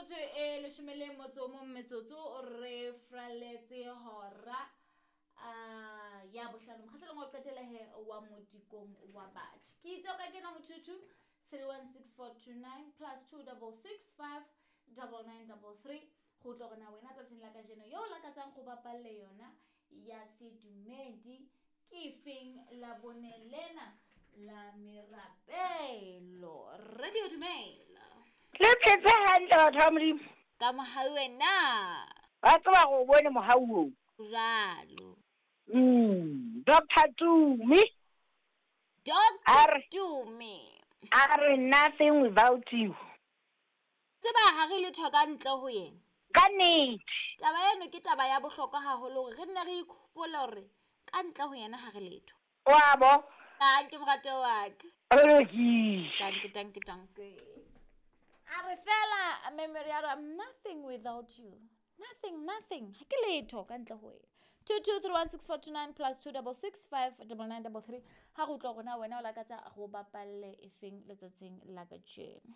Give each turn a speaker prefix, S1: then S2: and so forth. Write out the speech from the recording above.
S1: Metsotso e leshome le motso o mong metsotso re fraletse hora a ya bohlano mokgahlelong wa qetela he wa modikong wa batjha. Ke itse o ka kena ho 22 316429 plus 2665 9933 go utlwa gore na wena tsatsing la kajeno yo o lakatsang go bapalle yona ya sedumedi ke feng la bone lena la merapelo. Radio, dumela.
S2: Le phetse hantle, batho ba Modimo.
S1: Ka mohau wena.
S2: Ba tseba gore o bone mohau oo.
S1: Jalo.
S2: Dr Tumi.
S1: Dr Tumi.
S2: A re nothing without you.
S1: Tseba ha re letho ka ntle ho yena.
S2: Ka nnete.
S1: Taba eno ke taba ya bohlokwa haholo hore re nne re ikhopole hore ka ntle ho yena ha re letho.
S2: Wa bo.
S1: Tanke morate wa ka.
S2: O lokile.
S1: Tanke, tanke, tanke. A re fela memory ya re I'm nothing without you. Nothing, nothing. Ha ke letho ka ntle ho wena. 22316429 plus 26659933 ha re utlwa hore na wena o lakatsa go bapalle efeng letsatsing la kajeno.